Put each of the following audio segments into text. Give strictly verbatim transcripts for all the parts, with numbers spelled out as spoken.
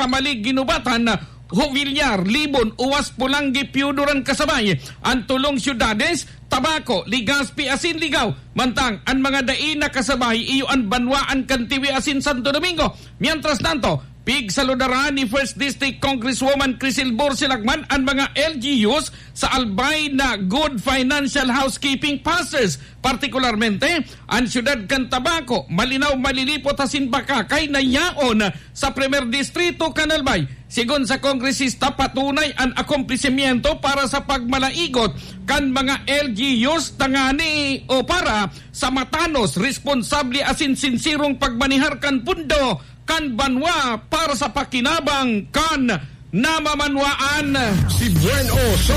Tamalig, Guinobatan, Jovellar, Libon, Oas, Polangui, Pio Duran kasabay an tolong syudades, Tabaco, Legazpi asin Ligao. Mantang an mga dai na kasabay iyo an banwaan kan Tiwi asin Santo Domingo. Mientras tanto, pigsaludaran ni First District Congresswoman Crisel Borse Lacman an mga L G Us sa Albay na Good Financial Housekeeping Passes, partikularmente an siyudad kan Tabaco, Malinao, Malilipot asin Bacacay na yaon sa Primer Distrito kan Albay. Sigon sa kongresista, patunay an akomplesimiento para sa pagmalaigot kan mga L G Us tangani o para sa matanos, responsable asin sinserong pagmanehar kan pundo kan banwa para sa pakinabang kan namamanwaan. Si Buen O sa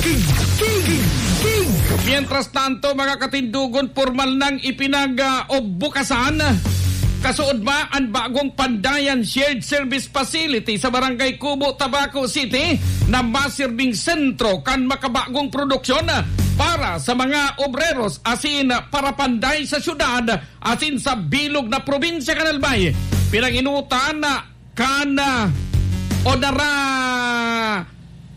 King, King, King, King. Mientras tanto, mga katindogon, pormal nang ipinag-, ah, obbukasan, kasuodma, an bagong Pandayan Shared Service Facility sa Barangay Cubo, Tabaco City, na masirbing sentro kan makabagong produksyon para sa mga obreros asin parapanday sa syudad asin sa bilog na probinsya kan Albay. Pinanginutan na kan, ah, Onara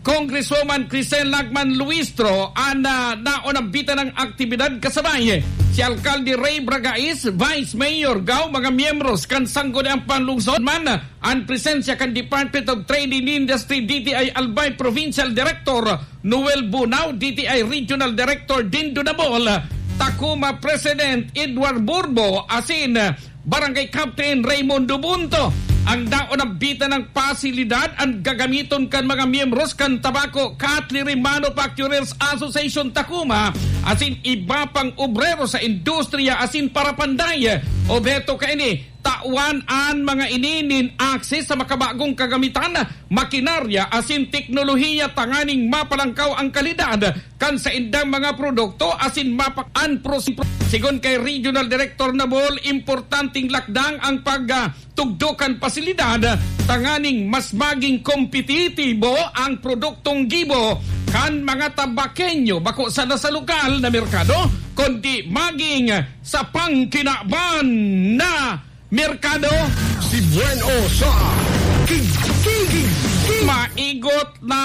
Congresswoman Crisel Lacman Luistro an, ah, naonambitan ng aktibidad kasabay si Alkalde Ray Bragais, Vice Mayor Gao, mga miyembros kan Sangguniang Panlungsod man, an presensya kan Department of Trade and Industry, D T I Albay Provincial Director Noel Bunao, D T I Regional Director Dindo Nabol, Takuma President Edward Burbo, asin Barangay Captain Raymundo Bunto. Ang daon na bitan ng pasilidad an gagamiton kan mga miyembros kan Tabaco Cutlery Manufacturers Association Tacoma asin iba pang obrero sa industriya asin parapanday. Obheto kaini, tawan an mga ini nin access sa makabagong kagamitan, makinarya asin teknolohiya tanganing mapalangkaw ang kalidad kan saindang mga produkto asin mapak-, an pros-, sigon kay Regional Director Nabol, importanteng lakdang ang pag, ah, tugdo kan pasilidad tanganing mas maging kompetitibo ang produktong gibo kan mga Tabaqueño, bako sana sa lokal na merkado, kundi maging sa pangkinaban na merkado. Si Buen O sa King, King, King, King. Maigot na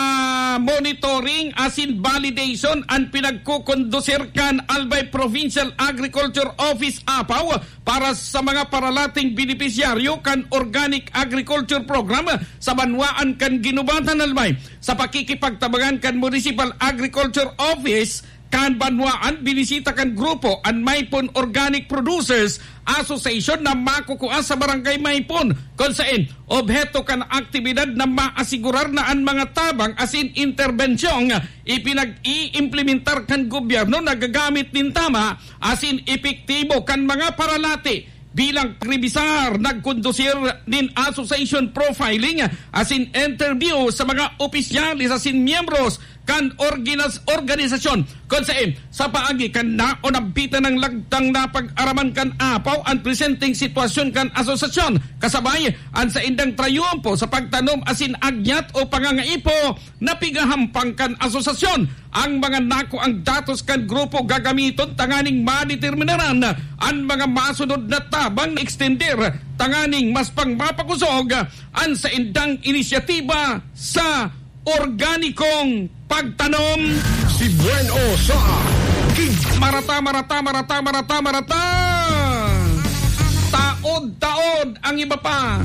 monitoring asin validation an pinagkukondusir kan Albay Provincial Agriculture Office, APAO, para sa mga paralating benepisyaryo kan Organic Agriculture Program sa banwaan kan Guinobatan, Albay. Sa pakikipagtabangan kan Municipal Agriculture Office, kan banwaan, binisita kan grupo an Maypon Organic Producers Association na makukua sa Barangay Maypon, kun saen obheto kan aktibidad na maasigurar na an mga tabang asin interbensyong ipinag-iimplementar kan gobyerno nagagamit nin tama asin epektibo. Kan mga paralati, bilang pagrebisar, nagkondusir nin association profiling asin interview sa mga opisyales asin miyembros kan orginas-, organisasyon, kun saen sa paagi kan naonambitan ng lagdang na pag-araman kan APAO an presenteng sitwasyon kan asosasyon, kasabay an saindang trayumpo sa pagtanom asin agyat o pangangaipo na pigahampang kan asosasyon. Ang mga nakuang datos kan grupo gagamiton tanganing madeterminaran an mga masunod na tabang na extender tanganing mas pang mapakosog an saindang inisyatiba sa organikong pagtanom. Si Buen O sa King. Marata, marata, marata, marata, marata. Taod-taod ang iba pa.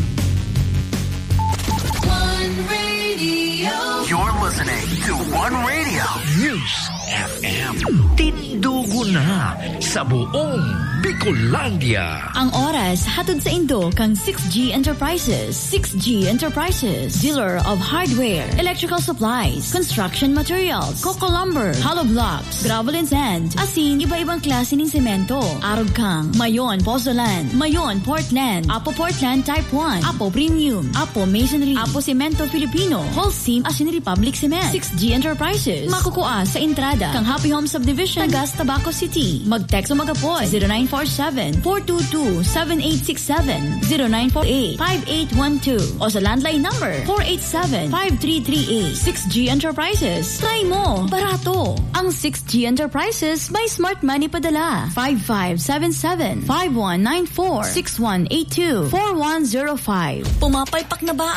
One Radio. You're listening to One Radio News F M. Tindugo na sa buong Bicolandia. Ang oras hatod saindo kan six G Enterprises. Six G Enterprises, dealer of hardware, electrical supplies, construction materials, coco lumber, hollow blocks, gravel and sand, asin iba-ibang klase nin semento. Arog kang Mayon Pozzolan, Mayon Portland, Apo Portland Type one, Apo Premium, Apo Masonry, Apo Semento Filipino, Holcim asin Republic Cement. Six G Enterprises, makukua sa entrada kan Happy Home Subdivision, Tagas, Tabaco City. Mag-text o mag-apod, zero nine four seven, four two two, seven eight six seven, zero nine four eight, five eight one two, o sa landline number, four eight seven, five three three eight. Six G Enterprises. Try mo! Barato! Ang Six G Enterprises may smart money padala. Five five seven seven, five one nine four, six one eight two, four one zero five. Pumapalpak na ba